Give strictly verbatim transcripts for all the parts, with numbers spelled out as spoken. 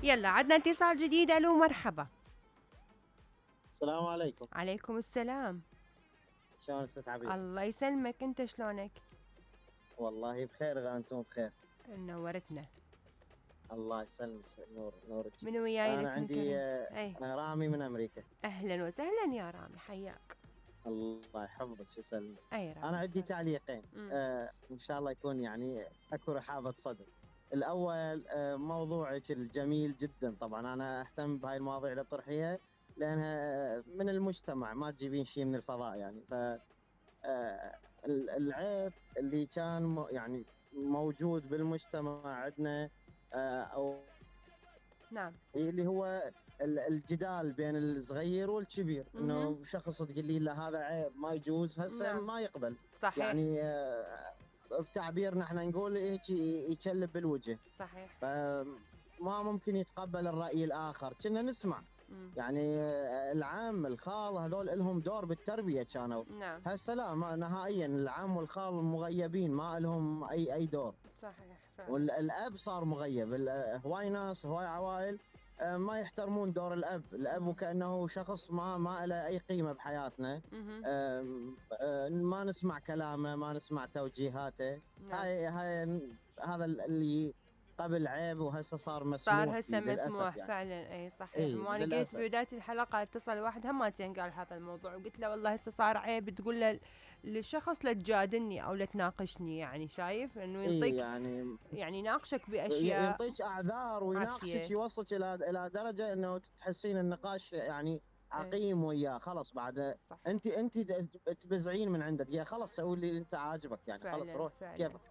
يلا عدنا اتصال جديد. الو مرحبا. السلام عليكم. عليكم السلام. شلون استاذ عبير؟ الله يسلمك، انت شلونك؟ والله بخير اذا انتم بخير. نورتنا. الله يسلمك. نور نورك. من وياي؟ انا عندي آه رامي من امريكا. اهلا وسهلا يا رامي، حياك. الله يحفظك ويسلمك. اي رامي. انا عندي تعليقين آه ان شاء الله يكون يعني اكو رحابه صدر. الاول آه موضوعك الجميل جدا، طبعا انا اهتم بهاي المواضيع اللي تطرحيها لانها من المجتمع، ما تجيبين شيء من الفضاء يعني. ف العيب اللي كان يعني موجود بالمجتمع عندنا او نعم اللي هو الجدال بين الصغير والكبير، انه شخص تقول لي لا هذا عيب ما يجوز، هسه نعم. ما يقبل. صحيح. يعني بتعبيرنا احنا نقول هيك يكلب بالوجه. صحيح. فما ممكن يتقبل الراي الاخر، كنا نسمع مم. يعني العم الخال هذول لهم دور بالتربيه كانوا. نعم. هسه لا نهائيا، العم والخال مغيبين، ما لهم اي اي دور. صحيح فعلا. والاب صار مغيب. هواي ناس هواي عوائل ما يحترمون دور الاب، الاب وكانه شخص ما ما له اي قيمه بحياتنا. ما نسمع كلامه، ما نسمع توجيهاته. نعم. هاي هاي هذا اللي قبل عيب وهسه صار مسموح، صار هسه مسموح يعني. فعلا اي صحيح. إيه وانا قلت ببدايه الحلقه اتصل واحد همتين قال هذا الموضوع، وقلت له والله هسه صار عيب تقول له للشخص لا تجادلني او لا تناقشني، يعني شايف انه ينطيك إيه يعني يعني يناقشك باشياء، ينطيك اعذار ويناقشك، يوصلك الى الى درجه انه تحسين النقاش يعني عقيم وياه. خلاص بعد صح. انت انت تبزعين من عندك، يا خلاص سوي اللي انت عاجبك يعني. خلاص روح كيفك.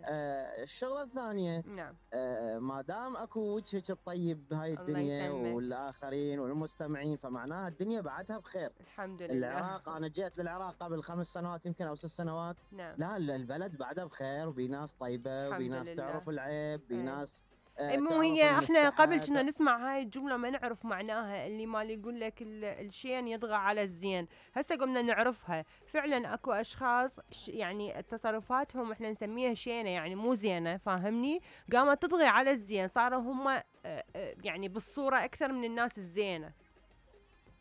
آه الشغله الثانيه نعم. آه ما دام اكو وجهك الطيب بهاي الدنيا والاخرين والمستمعين، فمعناها الدنيا بعدها بخير. الحمد لله. العراق انا جيت للعراق قبل خمس سنوات يمكن او ست سنوات. نعم. لا البلد بعدها بخير وبناس طيبه وبناس تعرف العيب، بناس آه مو هي احنا قبل كنا نسمع هاي الجمله ما نعرف معناها، اللي مال يقول لك الشين يطغى على الزين. هسه قمنا نعرفها فعلا. اكو اشخاص يعني تصرفاتهم احنا نسميها شينه، يعني مو زينه، فاهمني؟ قامت تطغي على الزين، صاروا هم يعني بالصوره اكثر من الناس الزينه.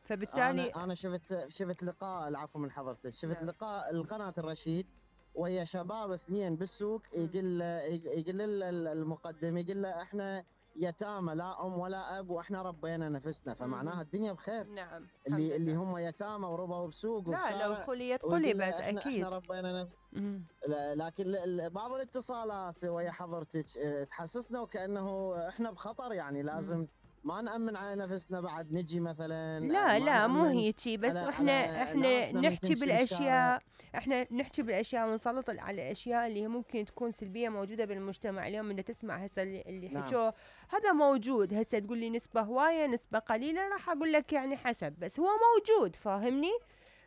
فبالتالي انا انا شفت شفت لقاء، العفو من حضرتك، شفت نعم. لقاء القناه الرشيد وهي شباب اثنين بالسوق، يقول يقول المقدم يقول له احنا يتامى لا ام ولا اب واحنا ربينا نفسنا، فمعناها الدنيا بخير. نعم. اللي اللي هم يتامى وربوا بسوق وبشارع، لا لو خليت قلبت احنا اكيد احنا ربينا نفسنا. لكن بعض الاتصالات ويا حضرتك تحسسنا وكانه احنا بخطر، يعني لازم مم. ما نأمن على نفسنا بعد نجي مثلا. لا لا مو هيجي، بس احنا احنا نحكي بالاشياء، احنا نحكي بالاشياء ونسلط على الاشياء اللي ممكن تكون سلبيه موجوده بالمجتمع اليوم. انت تسمع هسه اللي, اللي نعم. حكوه هذا موجود. هسه تقول لي نسبه هوايه نسبه قليله، راح اقول لك يعني حسب، بس هو موجود، فاهمني؟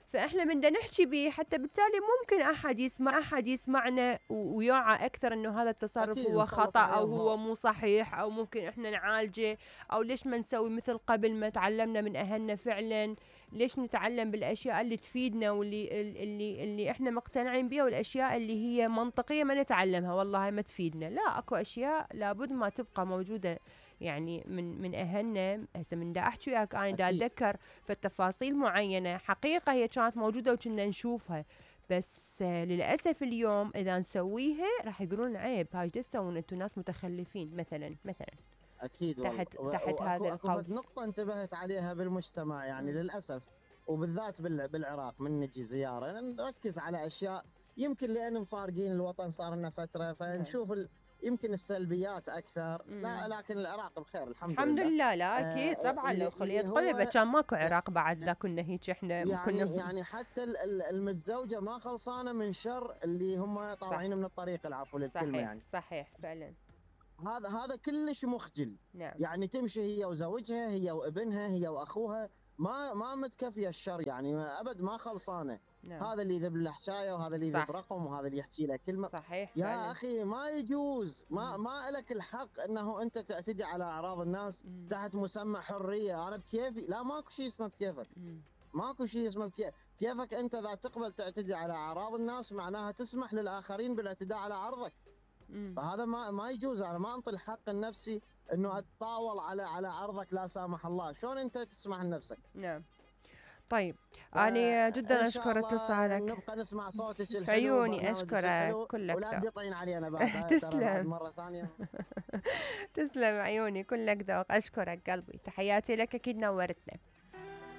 فاحنا بدنا نحكي به حتى بالتالي ممكن احد يسمع احد يسمعنا ويوعى اكثر انه هذا التصرف هو خطا او هو مو صحيح، او ممكن احنا نعالجه، او ليش ما نسوي مثل قبل ما تعلمنا من اهلنا فعلا. ليش نتعلم بالاشياء اللي تفيدنا واللي اللي اللي احنا مقتنعين بها، والاشياء اللي هي منطقيه ما نتعلمها والله ما تفيدنا. لا اكو اشياء لابد ما تبقى موجوده يعني من من اهلنا. هسه من دا احكي وياك انا دا اتذكر في التفاصيل معينه حقيقه هي كانت موجوده وكنا نشوفها، بس للاسف اليوم اذا نسويها راح يقولون عيب، هاي ايش تسوون انتم ناس متخلفين مثلا مثلا. اكيد تحت و... تحت هذا القوس. نقطه انتبهت عليها بالمجتمع يعني م. للاسف، وبالذات بالعراق من نجي زياره نركز على اشياء يمكن لان مفارقين الوطن صار لنا فتره، فنشوف ال... يمكن السلبيات اكثر. لا لكن العراق بخير الحمد, الحمد لله. لله. لا اكيد آه طبعا لو خليت قلبه كان ماكو عراق بعد، لا كنا هيك احنا يعني كنا يعني حتى المتزوجه ما خلصانه من شر اللي هم طالعين من الطريق، العفو للكلمه. صحيح يعني صحيح فعلا. هذا هذا كلش مخجل. نعم. يعني تمشي هي وزوجها، هي وابنها، هي واخوها، ما ما متكفيه الشر يعني ابد، ما خلصانه. نعم. هذا اللي يذب له حشايه، وهذا اللي يذب رقم، وهذا اللي يحكي له كلمه. صحيح يا فعلا. اخي ما يجوز، ما ما لك الحق انه انت تعتدي على اعراض الناس مم. تحت مسمى حريه. انا بكيفي، لا ماكو شيء اسمه بكيفك. مم. ماكو شيء اسمه بكيفك. كيفك انت اذا تقبل تعتدي على اعراض الناس معناها تسمح للاخرين بالاعتداء على عرضك. فهذا ما ما يجوز. انا ما انطي الحق النفسي انه اتطاول على على عرضك لا سامح الله. شلون انت تسمح لنفسك؟ نعم. طيب أنا جدا أشكر اتصالك. نبقى نسمع صوتك الحلو. عيوني أشكرك كلك ولا تقطعين علينا بعد. تسلم مرة ثانية. تسلم عيوني كلك ذوق. أشكرك قلبي. تحياتي لك، أكيد نورتنا.